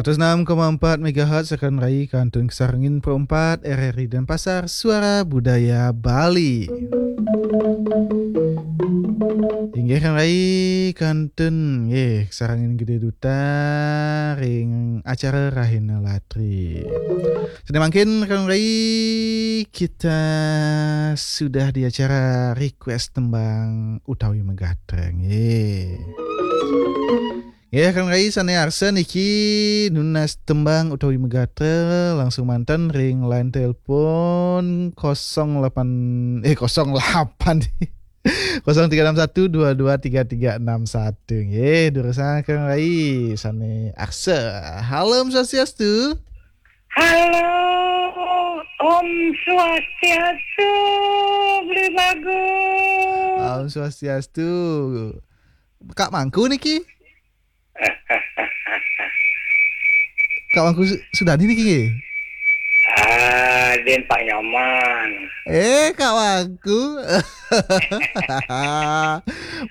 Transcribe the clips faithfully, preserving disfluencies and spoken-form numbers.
Seratus enam koma empat megahertz, rekan rai, kantun kasarengin Pro empat R R I Denpasar, Suara Budaya Bali. Inggih, rekan rai, kantun nggih kasarengin Gede Duta ring acara Rahina Latri. Sane mangkin, rekan rai, kita sudah di acara request tembang utawi megatra nggih. Nggih, rekan rai sane arsa niki nunas tembang utawi megatra, langsung manten ring line telepon kosong delapan, eh, kosong delapan, kosong tiga enam satu dua dua tiga tiga enam satu. Nggih, durusang rekan rai sane arsa. Halo, Om Swastiastu. Halo, Om Swastiastu, Beli Bagus. Om Swastiastu. Kak Mangku niki? Kak Mangku Su-, Sudani niki nggih? Ah, Din Pak Nyoman. Eh, Kak Mangku.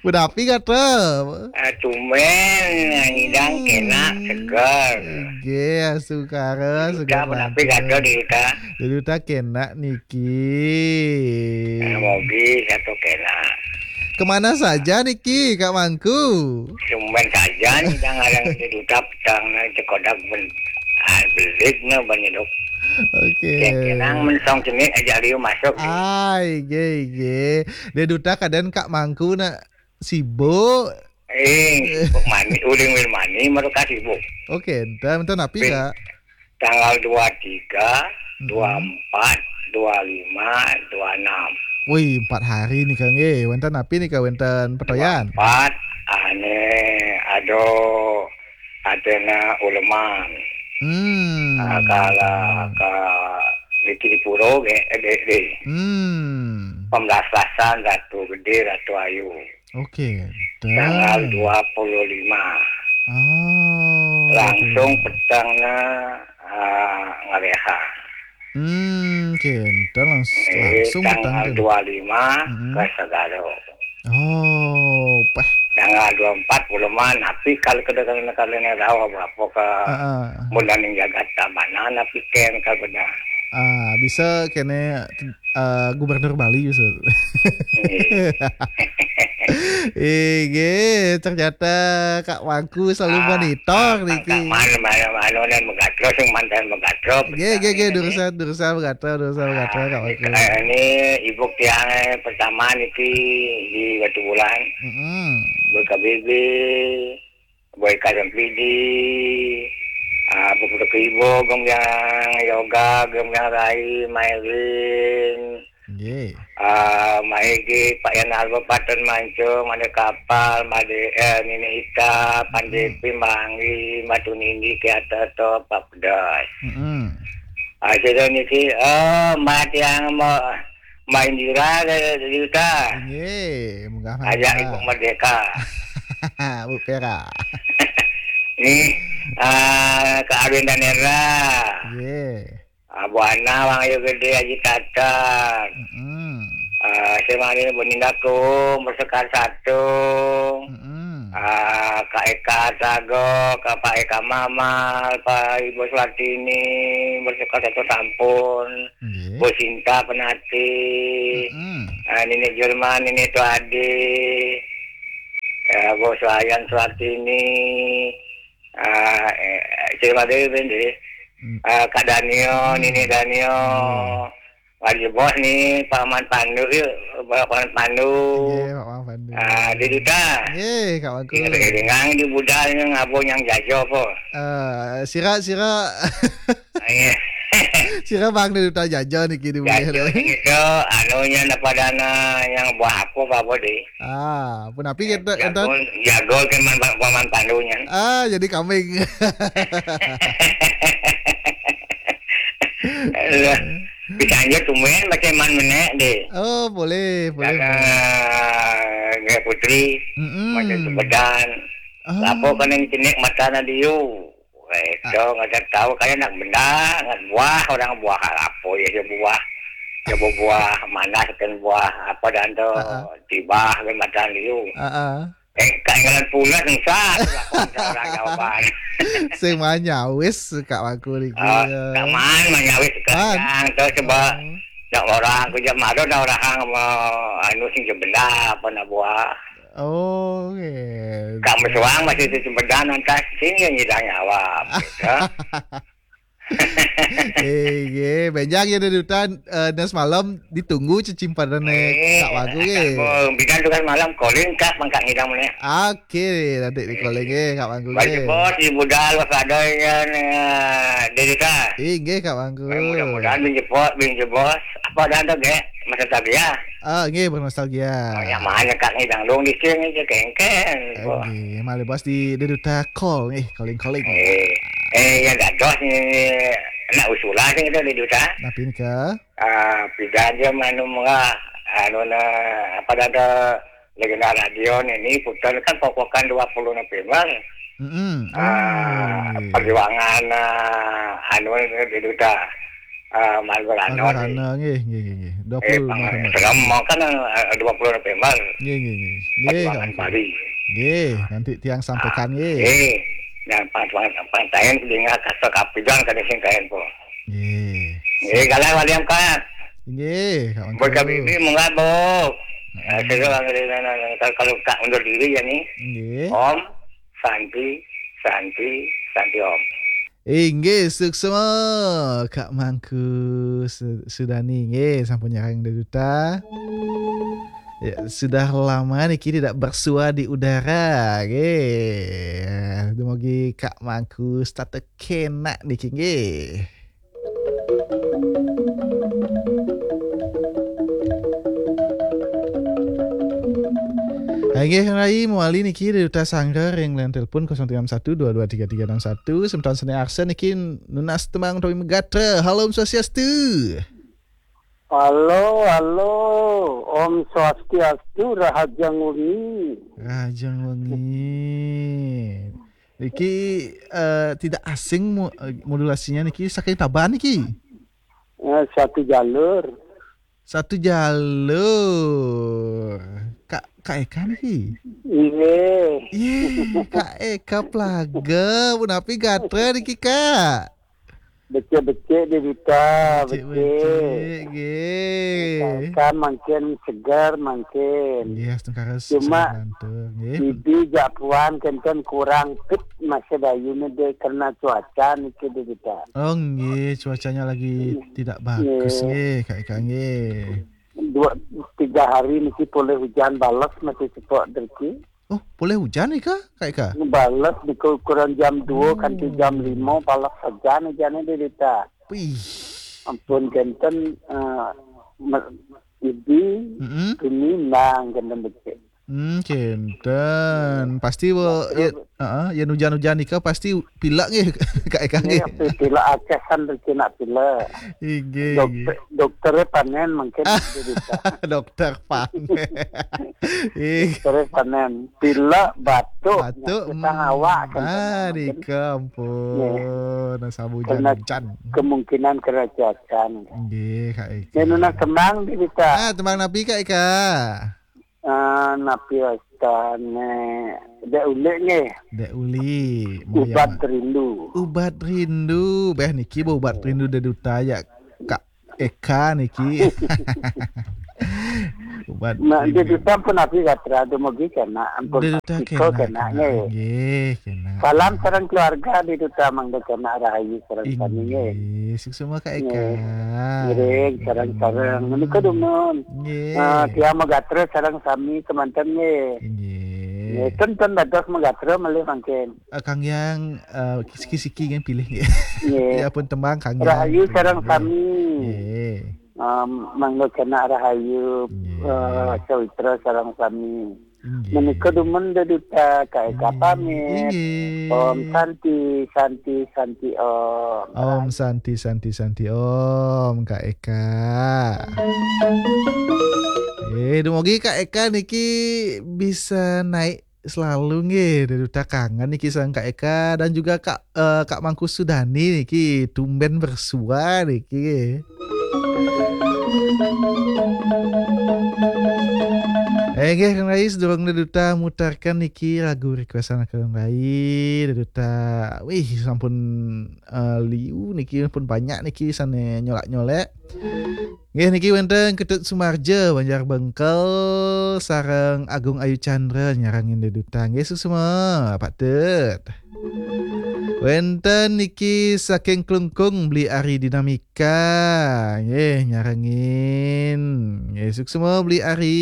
Punapi gatra? Ah, tumben, ngidang kena, seger. Nggih, sukara, seger. Punapi gatra, Dita? Dita kena niki. Ah, mogi satu kena. Kemana saja niki, Kak Mangku? Tumben saja ngidang arang Duta petang, nah, cekodak ben-, ah, belit, nah, banyedok. Oke. Kenang mensong cenit aja liu masuk. Ai, ge, ge. Dia Duta keadaan Kak Mangku nak sibuk. Eh, sibuk mani, uling wil mani, mereka sibuk. Oke, enten, enten napi, Kak? Tanggal dua tiga, dua empat, dua lima, dua enam. Wih, empat hari nika nggih. Wenten napi nika, wenten petoyan? Empat, ane, aduh, atena uleman. Hmm. Ah, kala ka niki di pura ge, eh, di, di. Hmm. Pembelas-belasan Ratu Gede, Ratu Ayu. Oke, tanggal dua puluh lima. Oh, langsung petengna, ah, ngaleha. Hmm, oke, entar langs-, eh, langsung peteng tanggal dua lima ke Sagaro. Oh, pah. Tanggal dua empat puluh lima, tapi kalau kada, kalau kada tahu apa-apa ke mun ning jagat tabanan, tapi ken ka benar. Ah, bisa kene, eh, Gubernur Bali bisa. Iya. Ige, ternyata Kak Mangku selalu monitor niki. Mana, mana, mana, dan megatro, sing mantan megatro. Ige, ige, ige, durusang, durusang megatro, durusang megatro, Kak Mangku. Ini ibu tiang pertama niki di Batu Bulan. Mm-mm. Buat K B B. Boy Kajang Pidi, ah, Bukit Ibo, Gombiang Yoga, Gombiang Rai, Mairin, nggih. Ah, Maege, Pak Yan Alba, Paten Mancung, Made Kapal, Made, eh, Nini Ita, Pandepi, Manggi, Matu Nindi, Kiata, To, Pak Pedas. Mm-mm. Ah, sudah niki, eh, Mbak Tiang mau Mbak Indira, Juta. Nggih, munggah mangga. Ajak Ibu Merdeka. Bu Pera. Ni, ah, Kak Arwin Danera. Nggih. Ah, Bu Ana, Wang Ayu Gede, Haji Tatar. Mm-mm. Ah, saya mari Bu Ninda Kum, Bersekar Satu. Mm-mm. Ah, Kak Eka Sago, Kak Pak Eka Mamal, Pak Ibu Suartini, Bersekar Satu Sampun. Nggih. Bu Sinta Penati, mm-mm, ah, Nini Jerman, Nini Tuadi, ya, Bu Suayan Suartini, ah, eh, Cil Madeu, Bendi, mm, ah, Kak Danio, mm, Nini Danio, nggih. Lagi bos ni, Pak Man Pandu, yuk, Pak Man Pandu. Nggih, Pak Man Pandu. Ah, di Duta. Nggih, Kak Bagus. Nggih, dengan di budal yang abang yang jajo apa? Eh, sira, sira. Iya. Sira bang di Duta jajo niki di bumi. Jago gitu, anunya napa dana yang buah apa, apa deh? Ah, punapi kita, jago, enten? Jago ke man, paman pandunya. Ah, jadi kambing. Alah, bisa aja tumben macam man menek deh. Oh, boleh, boleh, karena boleh. Gaya Putri, mm-mm, macam Sumedang. Ah. Lapo kena cenik mata na diu. Weh, itu nggak ada tahu, kayak nak benda, nak buah, orang buah apa ya, ya buah. Ya buah manas kan buah apa dan tu, ah, ah, tibah kan mata liu. Ah, ah. Eh, kaingalan pulas nusah, aku orang jawaban. Sing manyawis Kak Mangku niki. Ah, ya. Kak Man manyawis Man. Kandang, terus coba Oh. Nak orang ku jam ada nak orang hang mau anu sing jemenda apa nak buah. Oh, gitu. Kak Mesuang masih di jemenda nanti sing yang nyidang nyawa. Gitu. Eh, nggih, benjang ya dari hutan, eh, dan semalam ditunggu cecimpanane Eh, Kak Mangku, nggih. Bidang tugas malam, calling Kak, mangkak ngidang mana? Oke, nanti di calling, nggih, Kak Mangku, Baju nggih. Bos, di budal, pas ada yang, eh, dari Kak. Ih, nggih, Kak Mangku. Mudah-mudahan bin jebos, bin jebos. Apa dah tu, nggih? Masa tadi ya? Ah, nggih, bernostalgia. Oh, yang mana Kak ngidang dong di sini, je kengken. Eh, nggih, malih bos di, di duta call, nggih, calling-calling. Eh, eh, yang dados ni, nak usulan ni kita di duta. Napi nika? Ah, pidan je manu murah, anu na, apa dah ada legenda radio ni, ni putar kan pokpokan dua puluh November. Mm-mm. Ah, oh, nggih. Perjuangan, ah, anu ni di duta. Ah, Margarana ni. Margarana, nggih, nggih, nggih, nggih. Eh, dua puluh November. Selama kan, ah, dua puluh November. Nggih, nggih, nggih. Nggih, perjuangan Kak Mangku. Bali. Nggih, nanti tiang sampaikan, ah, nggih. Nggih. Dan pas, pas, pas, saya dengar kata kapidan kada sing kain po. Nggih. Nggih, galah waliam Kak. Nggih, Kak Mangku. Buat kami ini mengabuk. Mm-mm. Eh, saya bilang, kalau, kalau Kak undur diri ya ni. Nggih. Om Santi, Santi, Santi Om. Inggih, suksma Kak Mangku Su-, Sudani. Nggih, sampun nyarang dari duta. Ya, sudah lama niki tidak bersua di udara. Nggih. Dumugi Kak Mangku start kenak niki, nggih. Hai, nggih, rai mawali niki dari duta sanggar yang line telepon kosong tiga enam satu dua dua tiga tiga enam satu. Semeton seni Arsen niki nunas tembang utawi megatra. Halo, Om Swastiastu. Halo, halo. Om Swastiastu, Rahajeng Wengi. Rahajeng Wengi. Niki, eh, tidak asing mo-, eh, modulasinya niki saking Tabanan niki. Eh, satu jalur. Satu jalur. Kak, Kak Eka niki? Iya. Iya, Kak Eka Plaga. Punapi gatra niki, Kak? Becik-becik di duta, becik. Becik-becik, nggih. Kan mangkin segar, mangkin. Nggih, astungkara sehat lantur, nggih. Cuma, bibi jak puan kenten kurang fit masih dayu ni deh karena cuaca niki di duta. Oh, nggih, cuacanya lagi tidak bagus, nggih, Kak Eka, nggih. Dua, tiga hari niki boleh hujan balas masih cepok derki. Oh, boleh hujan nih, Kak, Kak Eka? Balas di ukuran jam dua kanti jam lima, balas saja nih jane di duta. Wih. Ampun, kenten, eh, me-, idi, Mm-mm. Ini nang kenten becik. Hmm, kenten. Pasti, ya, heeh, yen hujan-hujan nika pasti pilek nggih, Kak Eka nggih. Nggih, pilek akeh kan rezeki nak pilek. Inggih, dokter, inggih. Dokternya panen mungkin bisa. Dokter panen. Ih. Dokternya panen. Pilek, batuk, batuk, nyakitang awak, kan, ah, panen. Nika ampun. Nggih. Nah, sabu karena hujan-hujan. Kemungkinan kerajaan. Nggih, Kak Eka. Yen nunas tembang, Dita. Ah, tembang napi, Kak Eka? Ah, napi wastane? Dek Ulik nggih. Dek Ulik, Ubat Rindu. Ubat Rindu. Beh, niki bo Ubat Rindu de duta ya, Kak Eka niki. Ubat Rindu. Nah, de duta pun napi gatra dumugi kena, ampun. De duta kena, kena, nggih. Nggih, kena. Salam sareng keluarga di duta mangda kena rahayu sareng sami nggih. Inggih, suksma Kak Eka. Nggih. Ngiring sareng-sareng. Hmm. Menika dumun. Nggih. Ah, tiang magatra sareng sami kemanten nggih. Inggih. Nggih, ten, ten dados magatra malih mangkin. Ah, Kang Yang, ah, siki-siki nggih pilih nggih. Nggih. Ya pun tembang Kang Yang. Rahayu sareng sami. Nggih. Ah, mangda kena rahayu, nggih. Ah, sawitra sareng sami. Inggih. Menika dumun de duta, Kak Eka pamit. Inggih. Om Santi, Santi, Santi Om. Om Santi, Santi, Santi Om, Kak Eka. Eh, dumugi Kak Eka niki bisa naik selalu nggih, de duta kangen niki sareng Kak Eka dan juga Kak, eh, Kak Mangku Sudani niki tumben bersua niki. Inggih, Kang Rai, sedurung Deduta mutarkan niki lagu requestan Kang Rai, Deduta, wih, sampun, eh, liu niki, pun banyak niki sane nyolak-nyolak. Nggih, niki wenten Ketut Sumarja, Banjar Bengkel, sareng Agung Ayu Chandra nyarengin Deduta. Nggih, suksma, Pak Tut. Wenten niki saking Klungkung, Beli Ari Dinamika. Nggih, nyarengin. Nggih, suksma, Beli Ari.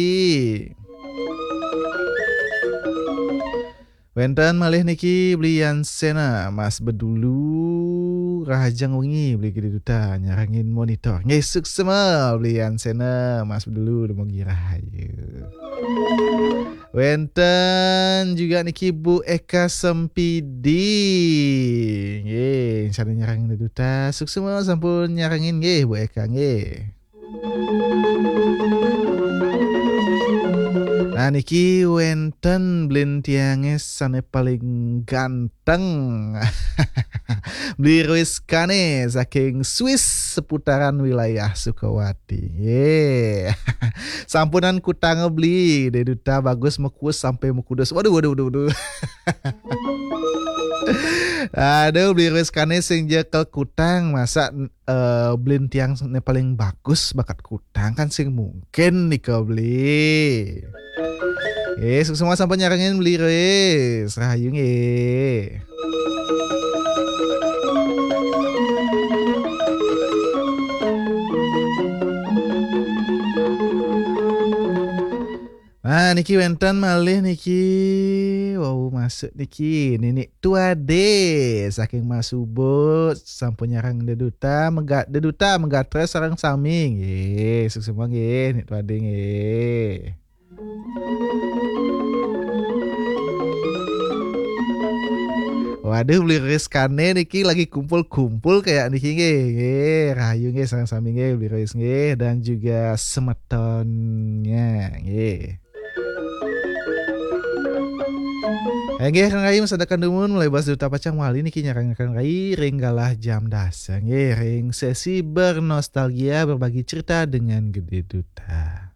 Wenten malih niki Beli Yansena, Mas Bedulu, rahajeng wengi Beli Gede Duta, nyarengin monitor. Nggih, suksma Beli Yansena, Mas Bedulu, dumugi rahayu. Wenten juga niki Bu Eka Sempidi. Nggih, sane nyarengin Duta, suksma sampun nyarengin nggih Bu Eka nggih. Nah, niki wenten blin tiange sane paling ganteng. Beli Rizkane saking Swiss seputaran wilayah Sukawati. Ye. Sampunan kutang beli, Deduta bagus mekus sampai mekudus. Waduh, waduh, waduh, waduh. Aduh, Beli Rizkane sing jekel kutang, masa eh, blin tiang ne paling bagus bakat kutang kan sing mungkin nika beli. Eh, suksma sampun nyarengin Beli Ris. Rahayu nggih. Nah, niki wenten malih niki. Wau masuk niki Ninik Tuade saking Mas Ubud, sampun nyarang Deduta, mega, Deduta megatra sareng sami nggih. Suksma nggih, Nik Tuade nggih. Waduh, Beli Rizkane niki lagi kumpul-kumpul kayak niki nggih. Nggih, rahayu nggih sareng sami nggih Beli Ris nggih dan juga semetonnya nggih. Inggih, Kang Rai, masadakan dumun, mulai bas Duta pacang wali niki nyarang Kang Rai ring galah jam dasa nggih, ring sesi bernostalgia, berbagi cerita dengan Gede Duta.